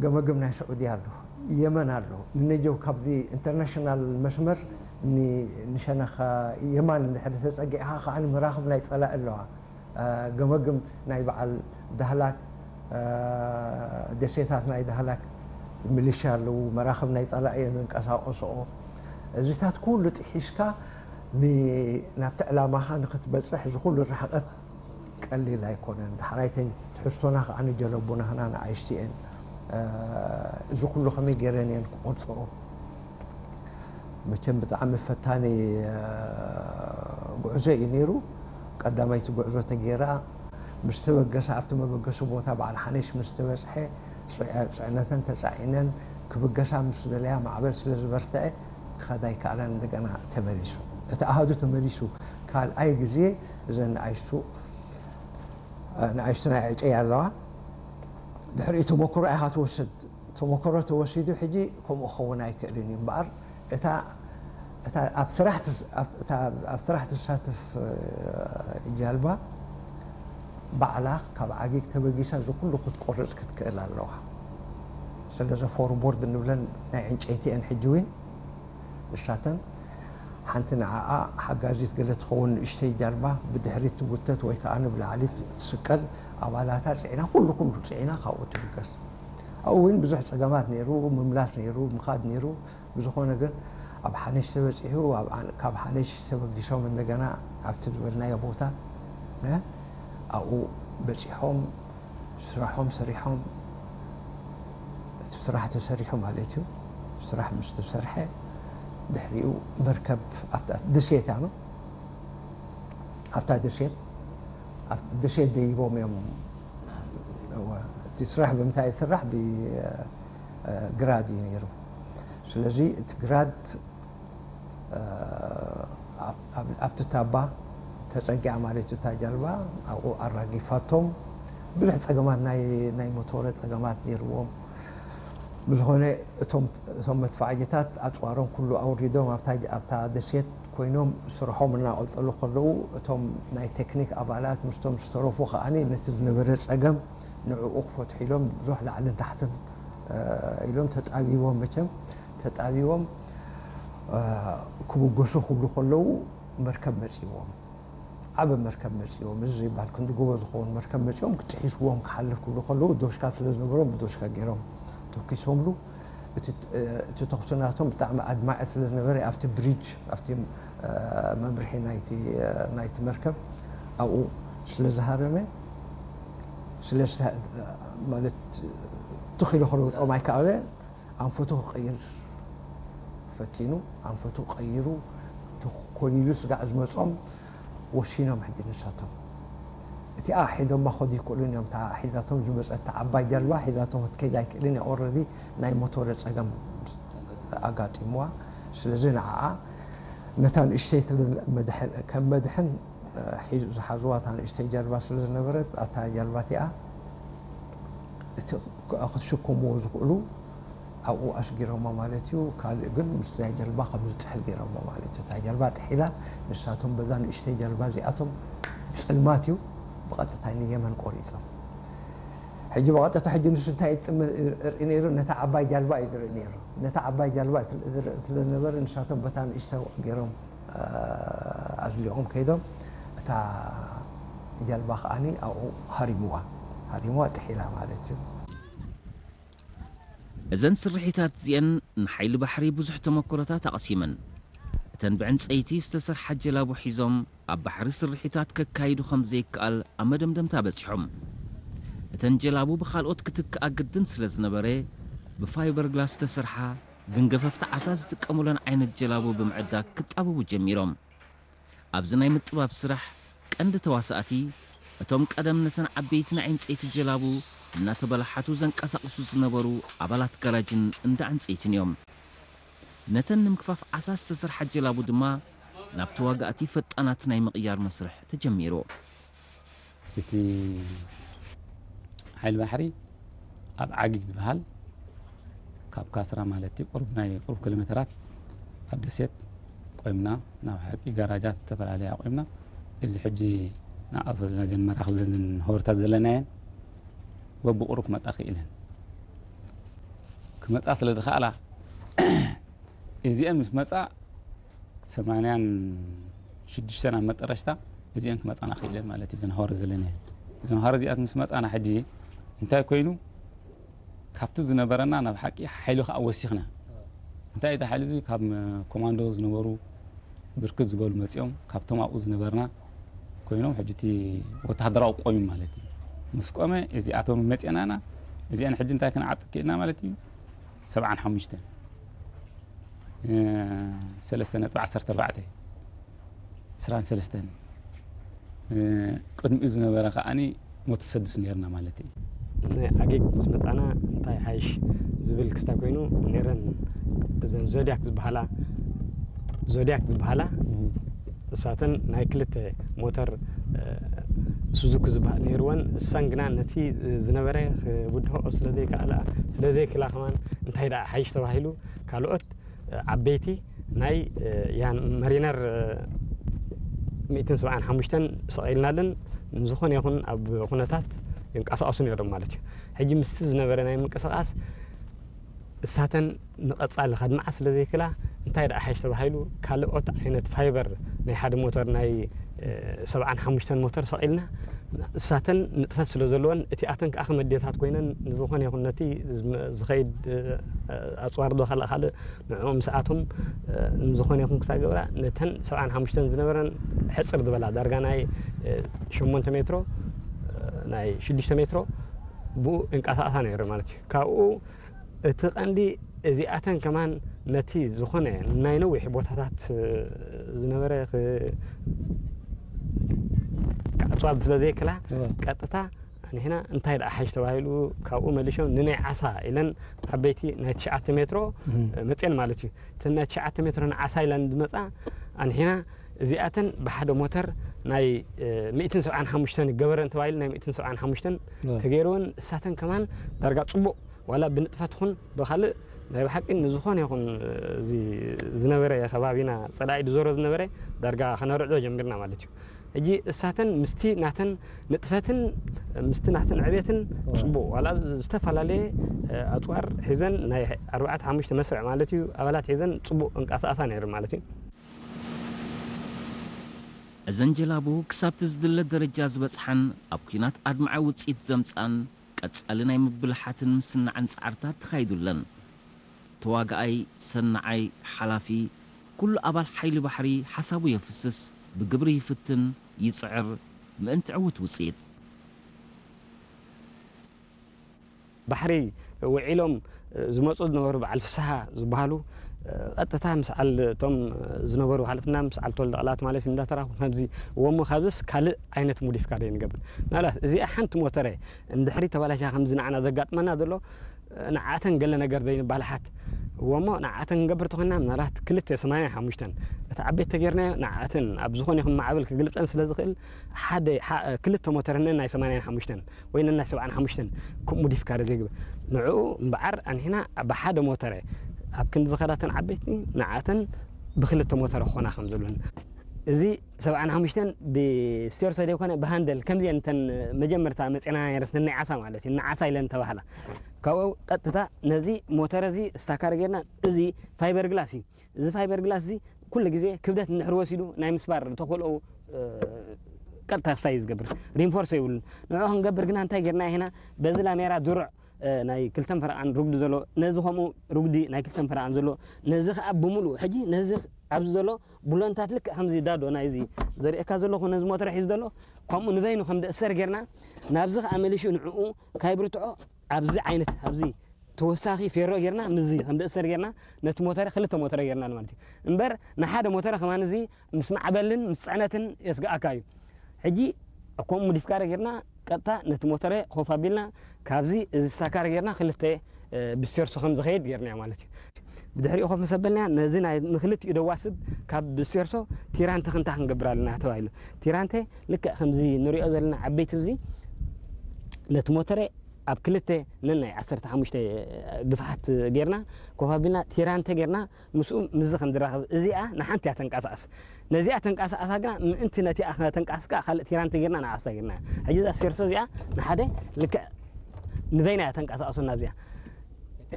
ገመግም ናይ ስዑዲ ኣሎ፣ የመን ኣሎ። ንነጀው ካብዚ ኢንተርናሽናል መስመር ን-፣ ንሸነኻ የማን እንድሕር ተጸጊዕኻ ከኣ መራኽብ ናይ ጸላኢ ኣለዋ። አ፣ ገመግም ናይ በዓል ዳህላክ፣ አ፣ ደሴታት ናይ ዳህላክ ሚሊሻ ኣለዉ፣ መራኽብ ናይ ጸላኢ እየን ዝንቀሳቐስኦ። እዚታት ኩሉ ጥሒስካ ን-፣ ናብቲ ዕላማኻ ንኽትበጽሕ እዚ ኩሉ ርሕቐት ቀሊል ኣይኮነን። ዳሕራይተን ትሕዝቶና ከኣ ንጀለቡናህና ንኣይሽቲ እየን። አ፣ እዚ ኩሉ ከመይ ገይረን እየን ክቆርጽኦ? መቸም ብጣዕሚ ፈታኒ፣ አ፣ ጉዕዞ እዩ ነይሩ። ቀዳመይቲ ጉዕዞ ተገይራ ምስ ተበገሳ፣ ኣብቲ መበገሲ ቦታ በዓል ሓኒሽ ምስ ተበጽሐ፣ ጽዕ-፣ ጽዕነተን ተጻዒነን ክብገሳ ምስ ደለያ፣ ማዕበል ስለ ዝበርትዐ ክኸዳ ኣይከኣለን። እንደገና ተመሊሱ፣ እቲ ኣሃዱ ተመሊሱ። ካልኣይ ግዜ እዘን ንኣሽቱ፣ አ፣ ንኣሽቱ ናይ ዕጨይ ኣለዋ። ድሕሪኡ ተመክሮ ኢኻ ትወስድ። ተመክሮ ተወሲዱ ሕጂ ከምኡ ክኸውን ኣይክእልን እዩ እምበኣር፣ እታ፣ እታ ኣብ ስራሕ ትስ-፣ ኣብ፣ እታ ኣብ ስራሕ ትሳተፍ፣ እ፣ ጃልባ ባዕላ ካብ ዓጊግ ተበጊሳ እዚ ኩሉ ክትቆርጽ ክትክእል ኣለዋ። ስለዚ ፎርቦርድ እንብለን ናይ ዕንጨይቲ እየን ሕጂ እውን ንሳተን። ሓንቲ ንዓኣ ሓጋዚት ገለ ትኸውን ንእሽተይ ጃልባ ብድሕሪት ትጉተት ወይ ከኣ ንብላዕሊ ትስቀል፣ ኣባላታ ጽዒና፣ ኩሉ ኩሉ ጽዒና ካብኡ ትብገስ። ኣብኡ እውን ብዙሕ ጸገማት ነይሩ፣ ምምላስ ነይሩ፣ ምኻድ ነይሩ። ብዝኾነ ግን ኣብ ሓነሽ ተበጺሑ፣ ኣብ ኣን-፣ ካብ ሓነሽ ተበጊሶም እንደገና ኣብቲ ዝበልናዮ ቦታ፣ እ፣ ኣብኡ በጺሖም፣ ስራሖም ሰሪሖም፣ እቲ ስራሕ ተሰሪሑ ማለት እዩ። ስራሕ ምስ ተሰርሐ፣ ድሕሪኡ መርከብ ኣብታ ደሴት እያ፣ ኣብታ ደሴት፣ ኣብ ደሴት ደይቦም እዮም። እወ፣ እቲ ስራሕ ብምንታይ ይስራሕ? ብ-፣ እ፣ ግራድ እዩ ነይሩ። ስለዚ እቲ ግራድ፣ እ፣ ኣብ-፣ ኣብ-፣ ኣብቲ ታባ ተጸጊዓ ማለት እዩ እታ ጃልባ፣ ኣብኡ ኣራጊፋቶም። ብዙሕ ጸገማት፣ ናይ፣ ናይ ሞቶረ ጸገማት ነይርዎም። ብዝኾነ እቶም፣ እቶም መድፋዕጅታት ኣጽዋሮም ኩሉ ኣውሪዶም ኣብታ፣ ኣብታ ደሴት ኮይኖም ስርሖም እናቐጸሉ ከለዉ፣ እቶም ናይ ቴክኒክ ኣባላት ምስቶም ዝተረፉ ከኣ ነቲ ዝነበረ ጸገም ንዕኡ ክፈትሑ ኢሎም ብዙሕ ላዕልን ታሕትን፣ እ፣ ኢሎም ተጣቢቦም፣ መቸም ተጣቢቦም፣ እ፣ ክብገሱ ክብሉ ከለዉ መርከብ መጺዎም። ዓቢ መርከብ መጺዎም፣ እዚ ዘይበሃል ክንዲ ጎቦ ዝኸውን መርከብ መጺኦም፣ ክጥሒስዎም ክሓልፍ ክብሉ ከለዉ፣ ዶሽካ ስለ ዝነበሮም፣ ብዶሽካ ገይሮም ተኲሶምሉ። እቲ፣ እቲ ተኹሲ ናቶም ብጣዕሚ ኣድማዒ ስለ ዝነበረ፣ ኣብቲ ብሪጅ፣ ኣብቲ፣ እ፣ መምርሒ ናይቲ፣ እ፣ ናይቲ መርከብ ኣብኡ ስለ ዝሃረመ፣ ስለ ዝተ-፣ ማለት፣ ትኽ ኢሉ ክረግጾም ኣይከኣለ። ኣንፈቱ ክቕይር ፈቲኑ፣ ኣንፈቱ ቀይሩ፣ ተኾሊሉ ስጋዕ ዝመጾም ወሲኖም። ሕጂ ንሳቶም እቲኣ ሒዞማ ኸዱ ይክእሉን እዮም። እታ ሒዛቶም ዝመጸት ዓባይ ጃልባ ሒዛቶም ክትከይድ ኣይክእልን እያ። ኦረዲ ናይ ሞቶረ ጸገም ኣጋጢምዋ። ስለዚ ንዓኣ ነታ ንእሽተይ ትብል መድሕን፣ ከም መድሕን ሒዙ ዝሓዝዋ እታ ንእሽተይ ጃልባ ስለ ዝነበረት፣ ኣታ ጃልባ እቲኣ እቲ ክትሽከምዎ ዝኽእሉ ኣብኡ ኣስጊሮሞ ማለት እዩ። ካልእ ግን ምስ ናይ ጀልባ ከም ዝጥሕል ገይሮሞ ማለት እዩ። እታ ጀልባ ጥሒላ፣ ንሳቶም በዛ ንእሽተይ ጀልባ እዚኣቶም ጸልማት እዩ ብቐጥታ ንየመን ቆሪጾም። ሕጂ ብቐጥታ ሕጂ ንሱ እንታይ ይጥም-፣ ርኢ ነይሩ? ነታ ዓባይ ጃልባ እዩ ዝርኢ ነይሩ። ነታ ዓባይ ጃልባ ስለ ዝርኢ ስለ ዝነበረ ንሳቶም በታ ንእሽተይ ገይሮም፣ እ፣ ኣዝሊቖም ከይዶም እታ ጀልባ ከኣኒ ኣብኡ ሃሪምዋ። ሃሪምዋ ጥሒላ ማለት እዩ። እዘን ስርሒታት እዚአን ንሓይሊ ባሕሪ ብዙሕ ተመክሮታት ኣቕሲመን። እተን ብዕንጸይቲ ዝተሰርሓ ጀላቡ ሒዞም ኣብ ባሕሪ ስርሒታት ከካይዱ ከም ዘይከኣል ኣብ መደምደምታ በጺሖም። እተን ጀላቡ ብኻልኦት ክትክኣ ግድን ስለ ዝነበረ፣ ብፋይበር ግላስ ዝተሰርሓ ግን ገፈፍቲ ዓሳ ዝጥቀሙለን ዓይነት ጀላቡ ብምዕዳግ ክጣበቡ ጀሚሮም። ኣብዚ ናይ ምጥባብ ስራሕ ቀንዲ ተዋሳእቲ፣ እቶም ቀደም ነተን ዓበይቲ ናይ ዕንጸይቲ ጀላቡ እናተበላሓቱ ዘንቀሳቕሱ ዝነበሩ ኣባላት ጋራጅን እንዳ ዕንጸይትን እዮም። ነተን ንምክፋፍ ዓሳ ዝተሰርሓ ጀላቡ ድማ ናብ ተዋጋእቲ ፈጣናት ናይ ምቕያር መስርሕ ተጀሚሩ። እቲ ሓይሊ ባሕሪ ኣብ ዓጊግ ዝበሃል ካብ ካስራ ማለት እዩ፣ ቁሩብ ናይ ቁሩብ ኪሎ ሜተራት ኣብ ደሴት ቆይምና፣ ናብ ሓቂ ጋራጃት ዝተፈላለየ ኣቆይምና። እዚ ሕጂ ንኣቶ ዘለና ዘን መራኽብ ዘን ሆርታት ዘለናየን በብቁሩብ ክመጻ ክኢለን። መጻ ስለ ዝኸኣላ እዚአን ምስ መጻ ሰማንያን ሽዱሽተን ኣብ መጠረሽታ እዚአን ክመጻና ክኢለን ማለት እዩ። ዘንሃወረ ዘለና ዘንሃወረ እዚኣት ምስ መጻና ሕጂ እንታይ ኮይኑ ካብቲ ዝነበረና ናብ ሓቂ ሓይሉ ከዓ ወሲኽና። እንታይ እቲ ሓይሉ እዚ ካብ ኮማንዶ ዝነበሩ ብርክት ዝበሉ መጺኦም ካብቶም ኣብኡ ዝነበርና ኮይኖም ሕጂ እቲ ወተሃደራዊ ቆዩ ማለት እዩ። ምስ ቆመ እዚኣቶም መጺናና እዚአን ሕጂ እንታይ ክንዓጥቅ ክኢልና ማለት እዩ። ሰብዓን ሓሙሽተን ሰለስተ ነጥቢ ዓሰርተ ኣርባዕተ ዕስራን ሰለስተን ቅድሚኡ ዝነበረ ከዓኒ ሞተር ሰድስ ነርና ማለት እዩ። ናይ ዓጌግ ምስ መፃና እንታይ ሓይሽ ዝብል ክስታይ ኮይኑ ነረን እዘን ዞድያክ ዝበሃላ ዞድያክ ዝበሃላ እሳተን ናይ ክልተ ሞተር ሱዙኪ ዝበሃል ነይርወን። እሳን ግና ነቲ ዝነበረ ክብድሆ ስለዘይከኣላ ስለዘይክላ ከማን እንታይ ደኣ ሓይሽ ተባሂሉ ካልኦት ዓበይቲ ናይ ያን መሪነር ሚእትን ሰብዓን ሓሙሽተን ሰቒልናለን። ንዝኾነ ይኹን ኣብ ኩነታት ይንቀሳቐሱ ነይሮም ማለት እዩ። ሕጂ ምስቲ ዝነበረ ናይ ምንቅስቓስ እሳተን ንቐጻሊ ከድምዓ ስለ ዘይክላ እንታይ ደኣ ሓይሽ ተባሂሉ ካልኦት ዓይነት ፋይበር ናይ ሓደ ሞተር ናይ ሰብዓን ሓሙሽተን ሞተር ሰቒልና እሳተን ንጥፈት ስለ ዘለወን እቲኣተን ከዓ ክመድየታት ኮይነን ንዝኾነ ይኹን ነቲ ዝኸይድ ኣፅዋር ዶ ካልእ ካልእ ንዕኡ ምስኣቶም ንዝኾነ ይኹን ክሳብ ገብራ ነተን ሰብዓን ሓሙሽተን ዝነበረን ሕፅር ዝበላ ዳርጋ ናይ ሸሞንተ ሜትሮ ናይ ሽዱሽተ ሜትሮ ብኡ እንቀሳቐሳ ነይሩ ማለት እዩ። ካብኡ እቲ ቀንዲ እዚኣተን ከማን ነቲ ዝኾነ ናይ ነዊሕ ቦታታት ዝነበረ ክዓፅዋ ስለ ዘይክላ ቀጥታ ንሕና እንታይ ደኣ ሓይሽ ተባሂሉ ካብኡ መሊሾም ንናይ ዓሳ ኢለን ዓበይቲ ናይ ትሽዓተ ሜትሮ መፅየን ማለት እዩ። እተን ናይ ትሽዓተ ሜትሮ ንዓሳ ኢለን ዝመፃ ኣንሒና እዚኣተን ብሓደ ሞተር ናይ ሚእትን ሰብዓን ሓሙሽተን ገበረን ተባሂሉ ናይ ሚእትን ሰብዓን ሓሙሽተን ተገይርወን እሳተን ከማን ዳርጋ ፅቡቕ ዋላ ብንጥፈት ኹን ብኻልእ ናይ ብሓቂ ንዝኾነ ይኹን እዚ ዝነበረ ከባቢና ፀላኢ ድዞሮ ዝነበረ ዳርጋ ከነርዕዶ ጀሚርና ማለት እዩ። ሕጂ እሳተን ምስቲ ናተን ንጥፈትን ምስቲ ናተን ዕቤትን ፅቡቕ ዋላ ዝተፈላለየ ኣፅዋር ሒዘን ናይ ኣርባዕተ ሓሙሽተ መስርዕ ማለት እዩ ኣባላት ሒዘን ፅቡቕ እንቀሳቐሳ ነይሩ ማለት እዩ። እዘን ጀላቡ ክሳብቲ ዝድለ ደረጃ ዝበፅሓን ኣብ ኲናት ኣድማዒ ውፅኢት ዘምፅኣን ቀጻሊ ናይ ምብልሓትን ምስናዕን ጻዕርታት ተኻይዱለን። ተዋጋኣይ፣ ሰናዓይ፣ ሓላፊ፣ ኩሉ ኣባል ሓይሊ ባሕሪ ሓሳቡ የፍስስ፣ ብግብሪ ይፍትን፣ ይጽዕር፣ ምእንቲ ዕዉት ውጽኢት። ባሕሪ ውዒሎም ዝመፁ ዝነበሩ በዓል ፍስሃ ዝበሃሉ ቀጥታ ምስ ዓል እቶም ዝነበሩ ሓለፍና ምስ ዓል ተወልደ ቃላት ማለት እንዳተራኹ ከምዚ እወሞ ካብዚስ ካልእ ዓይነት ሙዲፍካ ዶ ንገብር ናላት እዚኣ ሓንቲ ሞተረ እንድሕሪ ተባላሻ ከምዚ ንዓና ዘጋጥመና ዘሎ ንዓተን ገለ ነገር ዘይንባልሓት እወሞ ንዓተን ክንገብር ተኾይና ምናልባት ክልተ ሰማንያ ሓሙሽተን እቲ ዓበይቲ ተጌርናዮ ንዓተን ኣብ ዝኾነ ይኹን ማዕበል ክግልብጠን ስለ ዝኽእል ሓደ ክልተ ሞተርነን ናይ ሰማንያን ሓሙሽተን ወይ ነናይ ሰብዓን ሓሙሽተን ከምኡ ሙዲፍካሪ ዘይግበር ንዕኡ እምበዓር ኣንሒና ብሓደ ሞተረ ኣብ ክንዲ ዝኸዳተን ዓበይቲ ንዓተን ብክልተ ሞተረ ክኾና ከም ዘለወን እዚ ሰብዓን ሓሙሽተን ብስቴርሶ ዘይኮነ ብሃንደል ከምዚአን እተን መጀመርታ መፅና ነይረትኒ ናይ ዓሳ ማለት እዩ ንዓሳ ኢለን ተባህላ ካብኡ ቀጥታ ነዚ ሞተረ እዚ ስታካር ጌርና እዚ ፋይበር ግላስ እዩ እዚ ፋይበር ግላስ እዚ ኩሉ ግዜ ክብደት እንድሕር ወሲዱ ናይ ምስባር ተኽእሎኡ ቀጥታ ክሳይ ዝገብር ሪንፎርስ የብሉን ንዑ ክንገብር ግና እንታይ ጌርና ኢና በዚ ላሜራ ድሩዕ ናይ ክልተን ፈረቓን ሩግዲ ዘሎ ነዚ ከምኡ ሩግዲ ናይ ክልተን ፈረቓን ዘሎ ነዚ ከዓ ብምሉኡ ሕጂ ነዚ ኣብዚ ዘሎ ቡሎንታት ልክዕ ከምዚ ዳዶ ናይዚ ዘርእካ ዘለኹ ነዚ ሞተር ሒዙ ዘሎ ከምኡ ንበይኑ ከም ደእሰር ጌርና ናብዚ ከዓ መሊሹ ንዕኡ ካይብርትዖ ኣብዚ ዓይነት ኣብዚ ተወሳኺ ፌሮ ጌርና ምዚ ከም ደእሰር ጌርና ነቲ ሞተረ ክልተ ሞተረ ጌርና ማለት እዩ እምበር ንሓደ ሞተረ ከማን እዚ ምስ ማዕበልን ምስ ፅዕነትን የስግኣካ እዩ ሕጂ እኮም ሙዲፍካረ ጌርና ቀጥታ ነቲ ሞተረ ኮፍ ኣቢልና ካብዚ እዚ ስታካረ ጌርና ክልተ ብስቴርሶ ከም ዝኸይድ ጌርና ማለት እዩ ብድሕሪኡ ኮፍ ምስ ኣበልና ነዚ ናይ ንክልቲኡ ደዋስብ ካብ ብስቴርሶ ቲራንተ ክንታ ክንገብር ኣለና ተባሂሉ ቲራንተ ልክዕ ከምዚ ንሪኦ ዘለና ዓበይቲ ብዚ ነቲ ሞተረ ኣብ ክልተ ነናይ ዓሰርተ ሓሙሽተ ግፍሓት ጌርና ኮፍ ኣቢልና ቲራንተ ጌርና ምስኡ ምስዚ ከም ዝራኸብ እዚኣ ንሓንቲ እያ ተንቀሳቐስ ነዚኣ ተንቀሳቐሳ ግና ምእንቲ ነቲኣ ከተንቀሳቕስ ከዓ ካልእ ቲራንተ ጌርና ንዓስታ ጌርና ሕጂ እዛ ስቴርሶ እዚኣ ንሓደ ልክዕ ንበይና እያ ተንቀሳቐሶ ናብዚኣ